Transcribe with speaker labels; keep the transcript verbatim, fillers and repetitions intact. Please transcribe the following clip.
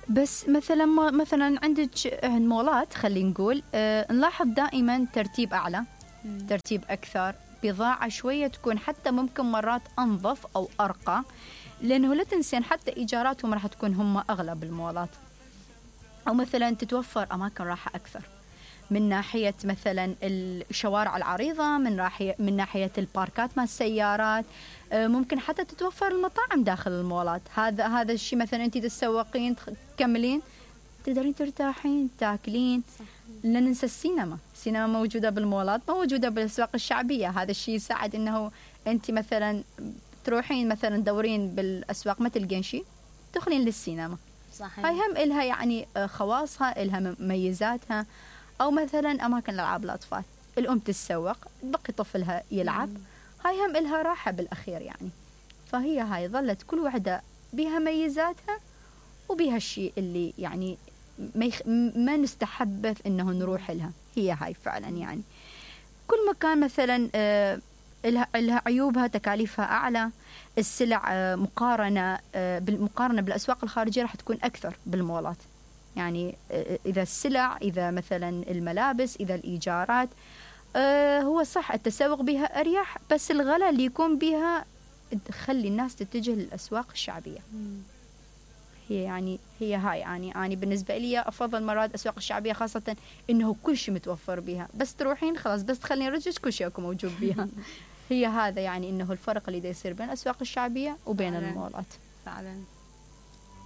Speaker 1: بس مثلا مثلا عندك مولات خلينا نقول أه نلاحظ دائما ترتيب أعلى، مم. ترتيب أكثر، بضاعة شوية تكون حتى ممكن مرات أنظف أو أرقى، لأنه لا تنسين حتى إيجاراتهم راح تكون هم أغلى بالمولات. أو مثلا تتوفر أماكن راحة أكثر من ناحية مثلا الشوارع العريضة، من ناحية من ناحية الباركات مع السيارات، ممكن حتى تتوفر المطاعم داخل المولات. هذا هذا الشيء مثلا أنت تسوقين تكملين تقدرين ترتاحين تاكلين. لا ننسى السينما، السينما موجودة بالمولات، موجودة بالأسواق الشعبية. هذا الشيء يساعد إنه أنت مثلا تروحين مثلا دورين بالأسواق ما تلقين شيء تدخلين للسينما. صحيح. هاي هم إلها يعني خواصها، إلها مميزاتها. أو مثلا أماكن الألعاب الأطفال، الأم تتسوق بقي طفلها يلعب، مم. هاي هم إلها راحة بالأخير يعني. فهي هاي ظلت كل واحدة بها ميزاتها وبها الشيء اللي يعني ما, يخ... ما نستحب إنه نروح لها. هي هاي فعلا يعني كل مكان مثلا آه إلها... إلها عيوبها، تكاليفها أعلى، السلع آه مقارنة آه بالمقارنة بالأسواق الخارجية راح تكون أكثر بالمولات. يعني إذا السلع، إذا مثلا الملابس، إذا الإيجارات، آه هو صح التسوق بها أريح، بس الغلاء اللي يكون بها تخلي الناس تتجه للأسواق الشعبية. مم. هي يعني هي هاي يعني أنا بالنسبة لي أفضل مرات الأسواق الشعبية، خاصة إنه كل شيء متوفر بها، بس تروحين خلاص بس تخلين رجلك كل شيء أكو موجود بها. هي هذا يعني إنه الفرق اللي دا يصير بين الأسواق الشعبية وبين فعلا. المولات.
Speaker 2: فعلا.